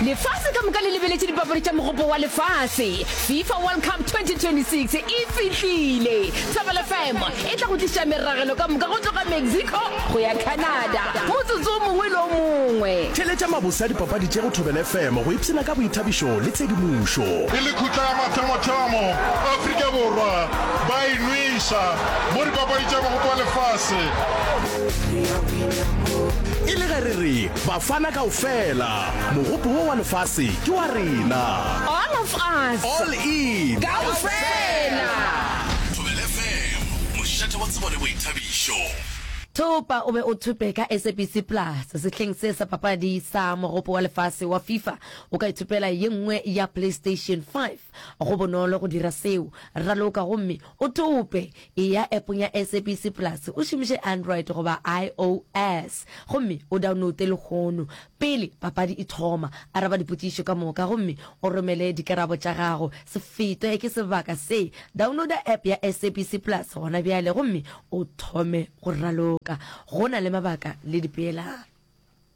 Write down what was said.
Lefase ka moka le lebeletše dipapadi tša Mogopo wa Lefase. FIFA World Cup 2026 e fihlile! Thobela FM e tla go tliša meragelo ka moka go tloga Mexico go ya Canada motsotso o mongwe le o mongwe. Theeletša mabose a dipapadi tše go Thobela FM go ipshina ka boithabišo le tshedimošo. E le khutla ya mathomothomo, Afrika Borwa ba e nweša mo dipapadi tša Mogopo wa Lefase. E le ge re re Bafana kaofela, mogopo wo wa lefase ke wa rena. All of us. All in. Kaofela. Thobela FM, mošate wa tsebo le boithabišo. Thopa o be o thope ka SABC Plus sehleng se sa papadi sa Mogopo wa Lefase wa FIFA. O ka ithopela ye nngwe ya PlayStation 5. Go bonolo go dira seo. Raloka gomme o thope. Eya appong ya SABC Plus o šomiše Android goba iOS gomme o downloute lehono. Pele papadi e thoma, araba dipotšišo ka moka gomme o romele dikarabo tša gago. Se fetwe ke sebaka se! Downloada app ya SABC Plus gona bjale gomme o thome go raloka. Go na le mabaka le dipeelano.